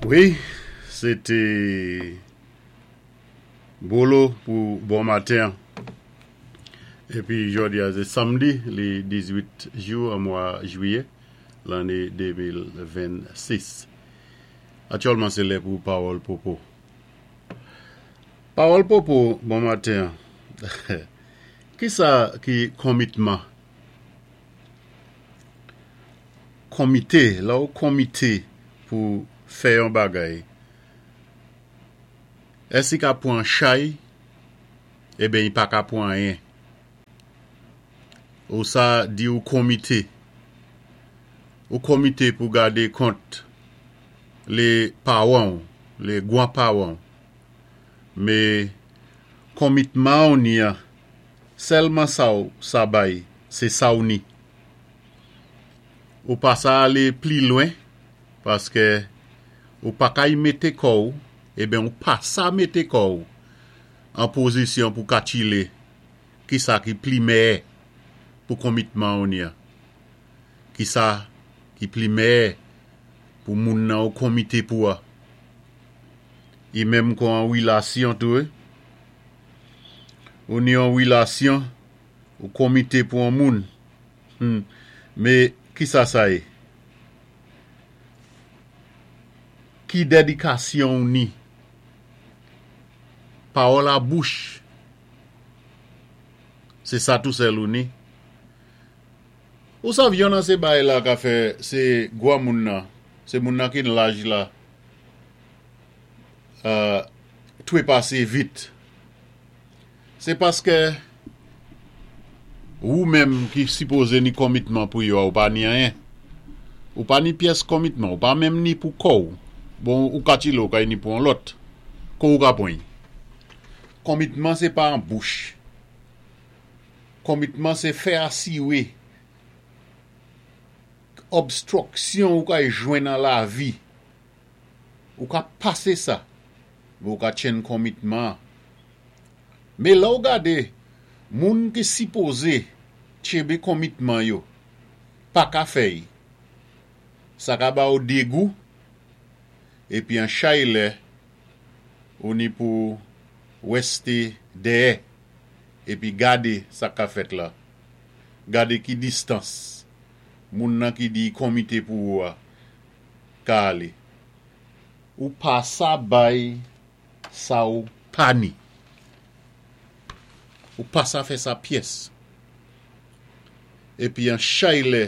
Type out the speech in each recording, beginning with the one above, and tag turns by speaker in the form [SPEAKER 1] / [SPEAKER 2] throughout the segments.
[SPEAKER 1] Wi, sé té Bolo pou bon maten an. Épi jòdi a sé samdi li 18 jou an mwa jwiyè lanné 2026. Aktyèlman sé lè pou pawòl popo. Pawòl popo bon maten an. Kisa ki konmitman? Konmite, lè ou konmite pou fè yon bagay, èske i ka pwan chay? Eben i pa ka pwan anyen. Ou sa di ou konmite. Ou konmite pou gade kont le paran ou, le gwan paran ou. Me konmitman ou ni an, sèlman sa ou sa bay, sé sa ou ni. Ou pa sa alé pli lwen paskè ou pa kay mété kò ou, eben ou pa sa mété kò ou an pozisyon pou katchilé kisa ki pli mèyè pou konmitman ou ni an. Kisa ki pli mèyè pou moun nan ou konmité pou a. I menm kon an wilasyon tou wi. Ou ni an wilasyon, ou konmité pou an moun. Hum, mé kisa sa yé? Ki dèdikasyon ou ni? Pawòl a bouch, sé sa tou sèl ou ni? Ou sav yon nan sé bay la ka fè sé gwanmoun nan, sé moun nan ki n laj la twepasé vit. Se paskè wou menm ki sipoze ni konmitman pou yo a ou pa ni anyen. Ou pa ni pyès konmitman, ou pa menm ni pou kò ou. Bon, ou ka tchile ou ka ni pou yon lòt. Ko ou ka pran y. Konmitman se pa an bouch. Konmitman se fè asire obstruction ou ka jwenn an lavi. Ou ka pase sa, men ou ka tchenn konmitman an. Men lè w gade moun ki sipoze tchenbe konmitman yo pa ka fè y, sa ka ba w degou epi an chay lè ou ni pou wèste dèyè epi gade sa k ka fèt la, gade ki distans moun nan ki di y konmite pou ou a ka ale. Ou pa sa bay sa ou pa ni. Ou pa sa fè sa pyès. Epi an chay lè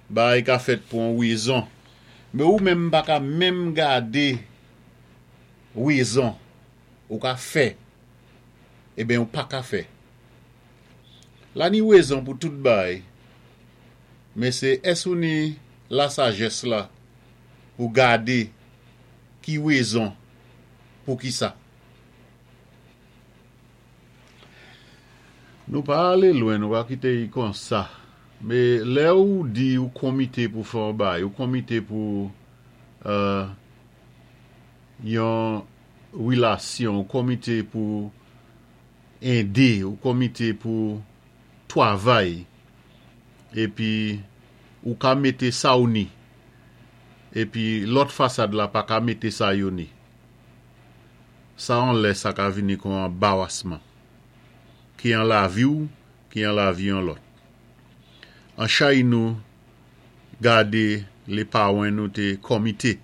[SPEAKER 1] bagay ka fèt pou an wezon. Men ou menm pa ka menm gade wezon ou ka fè. Eben ou pa ka fè. La ni wezon pou tout bagay. Men se ès ou ni lasajès la pou gade ki wezon pou kisa. Nou pa ale lwen, nou pa kite y konsa. Me lè ou di ou konmite pou fè yon bagay, ou konmite pou yon relasyon, ou konmite pou ede, ou konmite pou twavay, epi ou ka mete sa ou ni, epi lòt fasad la pa ka mete sa yo ni. Sa an lè sa ka vini kon anbawasman, ki an lavi ou, ki an lavi yon lòt. An chay nou gade lé pawen nou té kòmité,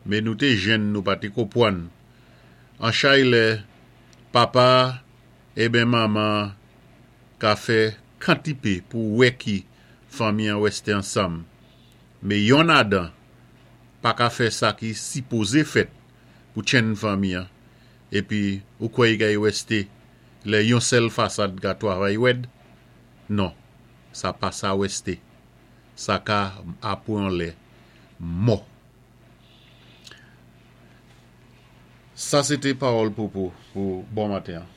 [SPEAKER 1] mé nou té jenn nou pa té konpwann. An chay lè papa eben manman ka fè kantipé pou wè ki fanmi an wèsté ansanm, mé yonn adan pa ka fè sa ki sipoze fèt pou tchenn fanmi an, epi ou kwè i kay wèste lè yon sèl fasad ka twavay wèd? Non, sa pa sa wèste. Sa ka apwe yon lè mò. Sa se te pawòl popo pou bon maten an.